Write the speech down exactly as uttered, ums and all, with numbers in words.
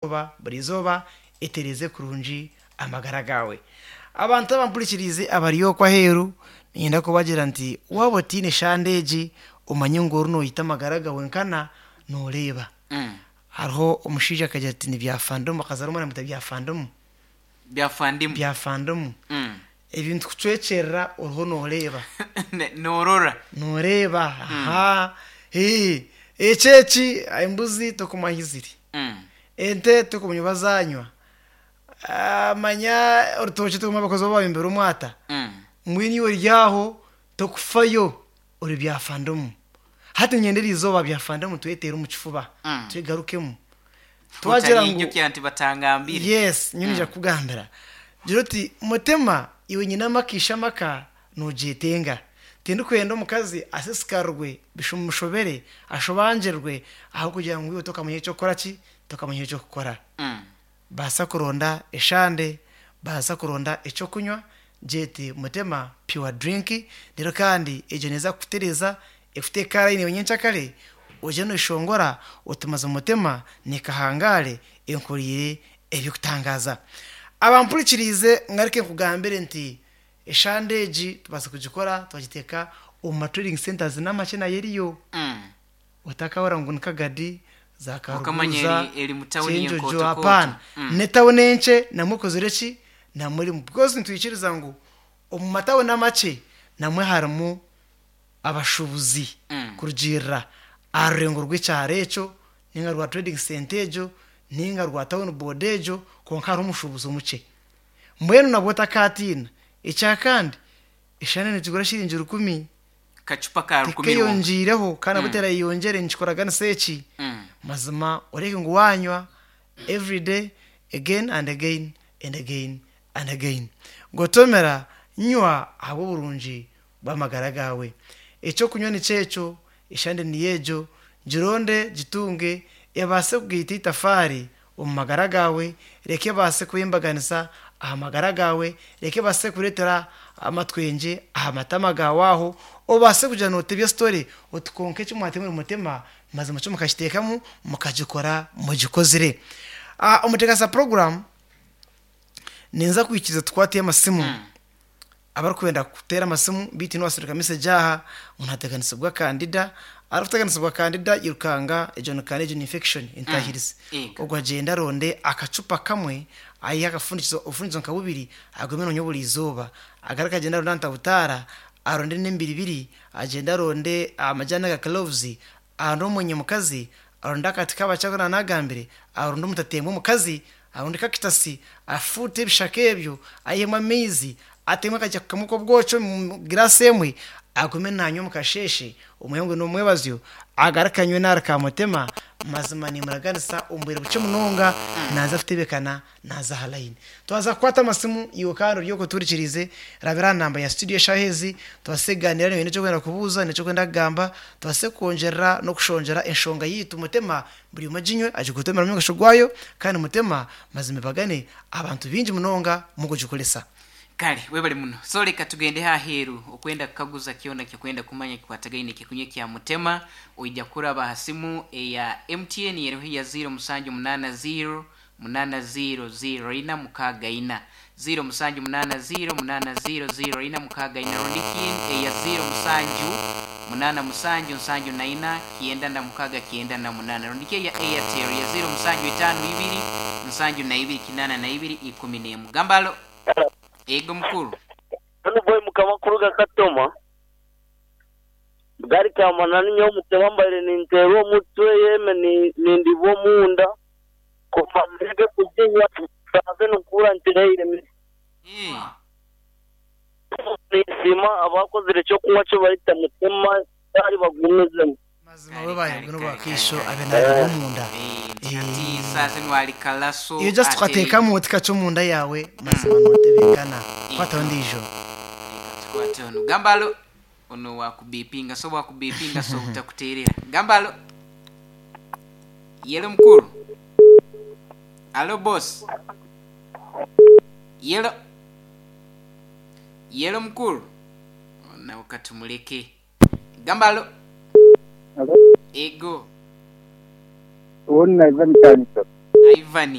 Oba buri izooba etereeze kurungi amagara gaawe. Abantu abampurikiriize abari okwo aheeru niinyenda kubagira nti waaba otiine shande egi omanye ngu ori noyita amagara gaawe nkana nooreeba. Hariho omushaija akagira ati nibyafandomu akazaara omwana amweta byafandomu. Byafandimu. Byafandomu. Mm. Ebintu kucwekyerera oriho nooreeba. Ne- Noorora. Nooreeba aha ee eki eki embuzi tokumanya ahi ziri. Mm. Ente tokumanya oba zaanywa. Ah, manya orutookye tokumanya abakozi obu bayombire omwata. Mm. Mbwenu iwe ori aho tokufayo ori byafandomu. Hati niinyenda eriizooba byafandomu tweteere omu kifuba Mm. twegarukemu. Twagira ngu Otariijukira nti batangambire. yes nyowe niija kukugambira. Gira oti mutima iwe nyine amaka amaka noogyetenga. Tindikwenda omukazi asisikarwe bimushobere ashobangirwe ahabw'okugira ngu iwe tokamanya eky'okukora ki tokamanya eky'okukora. Mm. Baasa kuronda eshande, baasa kuronda ekyokunywa gyete Mutema Pure Drink reero kandi egyo neeza kukutereeza ekuteeke aha layini nyenkyakare oije nooyeshongora oti mazima Mutema nikahangare enkoriire ebikutangaaza. Abampurikiriize ngaruke nkugambire nti eshande egi tubaasa kugikora twagiteeka omu ma trading centres n'amakye nayo eriyo. Mm. Otakahurira ngu ni Kagadi, za Okamanya Karuguza, eri- eri mu tawuni Kyenjojo, y'Enkooto-kooto. apaana. Mm. N'etawuni enkye namwe ekozire ki namwe erimu because nitwikiriza ngu omu matawuni amakye namwe harimu abashuubuzi Mm. kurugiirira aha rurengo rw'ekyaro ekyo ninga rwa trading centre egyo ninga rwa town board egyo konka hariho omushuubuzi omukye. Mbwenu nabwo otakaatiina. Ekyakandi eshande nigigura shiringi rukumi Kacupa ka rukumi rwonka. tikeyongiireho kandi nabwo terayeyongyere nikikoraganisa eki. Mm. Mazima oreke ngu waanywa everyday again and again and again and again. Gotomera nywa ahabw'oburungi bw'amagara gaawe. Ekyokunywa nikyo ekyo, eshande niyo egyo, gironde gitunge ebaase kugaita itafaari omu magara gaawe, reka ebaase kwembaganisa aha magara gaawe, reka ebaase kureetera amatwengye aha matama gaawe aho, obaase kugira nootebya story oti konka eki mwatemire Mutema mazima kyo mukakiteekamu mukagikora mugikozire. Ah, omuteekateesa program ninza kwikiriza tukwateyo amasimu. Abarikwenda kuteera amasimu beitu niwasindika message aha ngu nateganisibwa kandida, arikuteganisibwa kandida yirukanga egyo ni kandida egyo ni infection entahirizi. Ego. Ogwo agyende aronde akacupa kamwe ayihe akafundikizo obufundikizo nka bubiri agume nanywa buri izooba. Agaruke agyende aronde antabutaara, aronde n'embiribiri, agyende aronde amajaani aga cloves, aronde omwenya mukazi, aronde akati k'abakye aku naanagambire, aronde omutateembwa omukazi, aronde cactus, afuute ebishaka ebyo, aihemu amaizi, atemu akajako kamwe k'obwoki omu giraasi emwe, agume nanywa omu kasheeshe omwehangwe n'omwebazyo, agaruke anywe n'ahari Kamutema, mazima nimuraganisa omu bwire bukye munonga naaza kutebeekana naaza aha layini. Twaza kukwata amasimu iwe kandi ori okwo otuhurikiriize rabira aha namba ya studio eshaaha ezi tubaase kugaaniira niiwe oine ekyokwenda kubuuza n'ekyokwenda kugamba tubaase kwongyera n'okushongyera enshonga yaitu Mutema buri omwe aginywe agikutomere omu mugasho gwayo kandi Mutema mazima ebagane abantu baingi munonga mukugikoresa. Kale webale muno. So leka tugende aheeru okwenda kukaguza kyona kyokwenda kumanya kikwatagaine ekikunywa kya Mutema oija kuraba aha simu eya M T N eriho ya zero musanju munaana zero munaana zero zero ina mukaaga ina zero musanju munaana zero munaana zero zero ina mukaaga ina rundi kin eya zero musanju munaana musanju nsanju na ina kyenda na mukaaga kyenda na munaana rundi ki eya Airtel ya zero musanju itaano ibiri nsanju na ibiri kinaana na ibiri ikumi n'emu. Gambalo. Ego mukuru. Hano boy mukama kuruga Katoma gari kamanani nyo mutema mbaire ninteerwa omutwe yeme ni- nindibwa omunda kuva ndeke kuginywa nsanze nukura ntireire Eh. nisima abakozire ekyokunywa kyo bayita Mutema bari bagumizemu. Mazima Kale, we kale, bayibwe kale, n'obwakaisho kale, abe kale. naaribwa omunda. Eh, nti hati saa zinu ali kalaso Iyo just atereire. ukateekamu otikaca omunda yaawe mazima nootebeekana. Kwataho ndiijo. Leka tukwate ono. Gambalo. Ono wakubipinga so wakubipinga so utakuteerera. Gambalo. Yelo mukuru. Alo boss. Yelo. Yelo mukuru. Nawe katumuleke. Gambalo. Alo, Ego. uwo ni Ivan Kanisa. Ivan. Ivan.